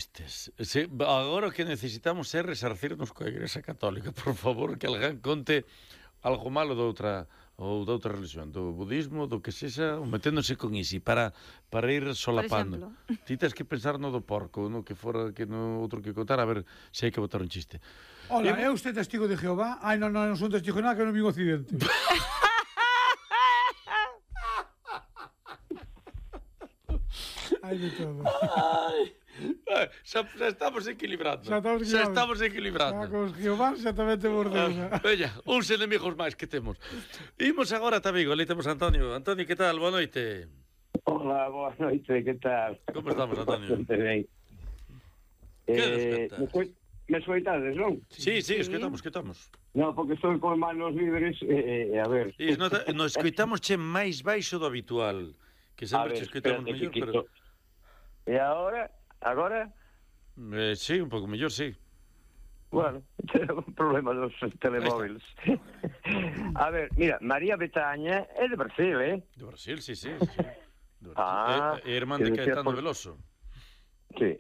Sí, agora o que necesitamos é resarcirnos coa Igrexa Católica, por favor, que alguén conte algo malo doutra religión, do budismo, do que sexa, meténdose con isi, para ir solapando. Ti tens que pensar no do porco, no que fora, que no outro que contar, a ver se hai que botar un chiste. Hola, é usted testigo de Jehová? Ai, non son testigo de nada, que non vi un accidente. Hai de todo. Xa estamos equilibrando. Xa estamos equilibrando. Con os Jehová xa tamén te mordeu. Veña, uns enemigos máis que temos. Imos agora a Vigo, ali temos a Antonio. Antonio, que tal? Boa noite. Hola, boa noite, que tal? Como estamos, Antonio? Ben. Que despertas? Me escoitades, non? Sí, escoitamos. Non, porque estou con manos libres, a ver... Nos escoitamos che máis baixo do habitual, que sempre che escoitamos mellor, pero... E agora? Sí, un pouco mellor, sí. Bueno, é un problema dos telemóviles. A ver, mira, María Betaña é de Brasil, eh? De Brasil, sí. Ah, é irmán de Caetano Veloso. Sí.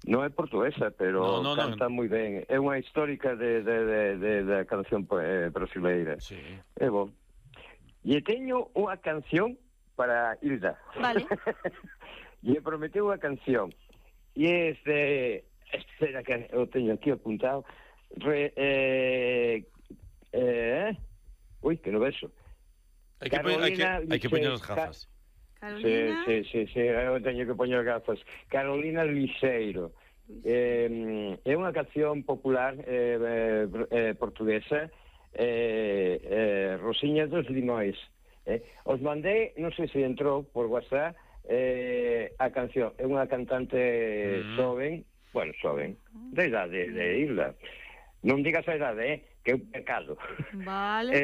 Non é portuguesa, pero canta moi ben. É unha histórica da canción brasileira. Sí. É bom. E teño unha canción para Hilda. Vale. E prometeu unha canción. E espera que eu teño aquí apuntado. Ui, que non vexo. Hai que poñer as gafas. Carolina... Sí, eu teño que poñer gafas. Carolina Liceiro. É unha canción popular portuguesa, Rosiña dos Limóis. Os mandei, non sei se entrou por WhatsApp, a canción. É unha cantante xoven, da idade de Hilda. Non digas a idade, que é un pecado. Vale.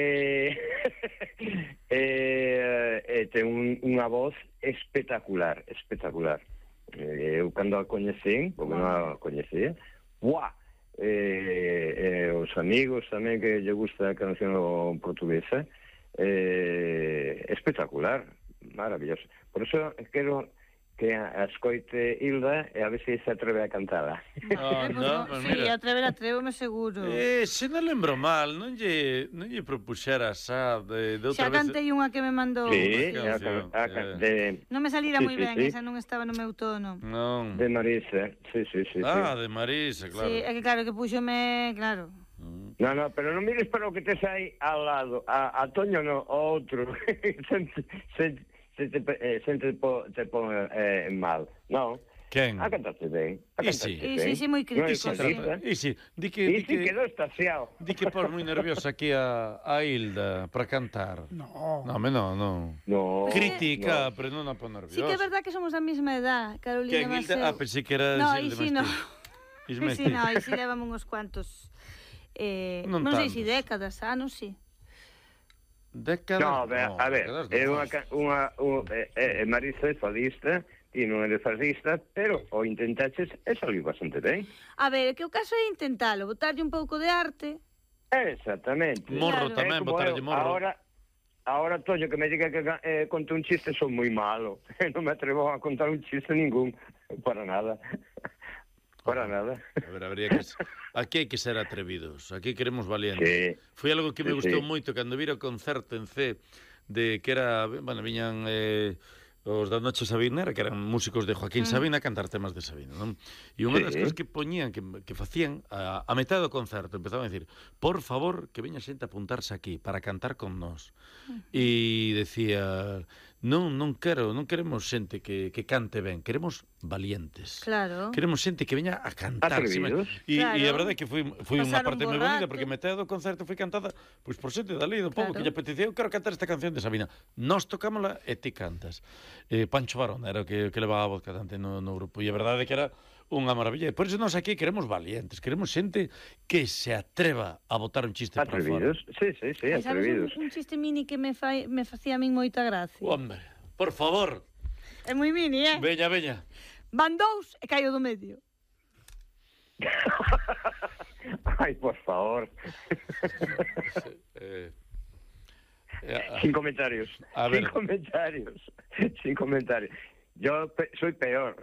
Ten unha voz espectacular. Eu cando a coñecín, porque non a coñecía, os amigos tamén que lle gusta a canción portuguesa, espectacular, maravilloso. Por eso quero que a escoite Hilda e a ver se atreve a cantala. Sí, atrévome seguro. Se non lembro mal, non lle propuxera xa de outra vez. Xa cantei unha que me mandou. Sí, non me salira moi ben, esa non estaba no meu tono. Non. De Marisa, sí. De Marisa, claro. Sí, é que claro, que púxome, claro. No, pero non mires para o que tes aí ao lado. A Toño no, o outro. Se te pon mal, non? Quen? A cantaste ben. Sí, moi crítico. Di que quedou estaciado. Di que pos moi nerviosa aquí a Hilda para cantar. No. No. Critica, pero non a pon nerviosa. Sí que é verdad que somos da mesma edad, Carolina. Que Hilda? Pensei que era... No, Isi no. Isi levamos uns cuantos... non sei se décadas, anos, sí. Décadas? No, a ver, é Marisa é fadista, ti non é fadista, pero o intentaches e saliu bastante ben. A ver, que o caso é intentalo, botarlle un pouco de arte. Exactamente. Morro tamén, botarlle morro. Ahora, Toño, que me diga que conte un chiste, son moi malo. Non me atrevo a contar un chiste ningún, para nada. Para nada. A ver, aquí hai que ser atrevidos, aquí queremos valientes. Foi algo que me gustou moito cando vira o concerto en C, de que era, viñan os da Noche Sabinera, que eran músicos de Joaquín Sabina, a cantar temas de Sabina, non? E unha das cosas que poñían, que facían, a metade do concerto, empezaban a dicir, por favor, que veña xente a apuntarse aquí, para cantar con nós. E decía, non queremos xente que cante ben, queremos valientes. Claro. Queremos xente que veña a cantar. E a verdade é que foi unha parte moi bonita, porque metade do concerto foi cantada pois por xente dali do povo, que lle apetecía, eu quero cantar esta canción de Sabina. Nós tocámola e ti cantas. Pancho Barón era o que levaba a voz cantante no grupo, e a verdade é que era unha maravilla. Por iso nós aquí queremos valientes, queremos xente que se atreva a botar un chiste para fora. Sí, atrevidos. Sabes un chiste mini que me facía a min moita gracia? Hombre, por favor. É moi mini, Veña. Van dous e caio do medio. Ai, por favor. Sin comentarios. Sin comentarios. Yo soy peor.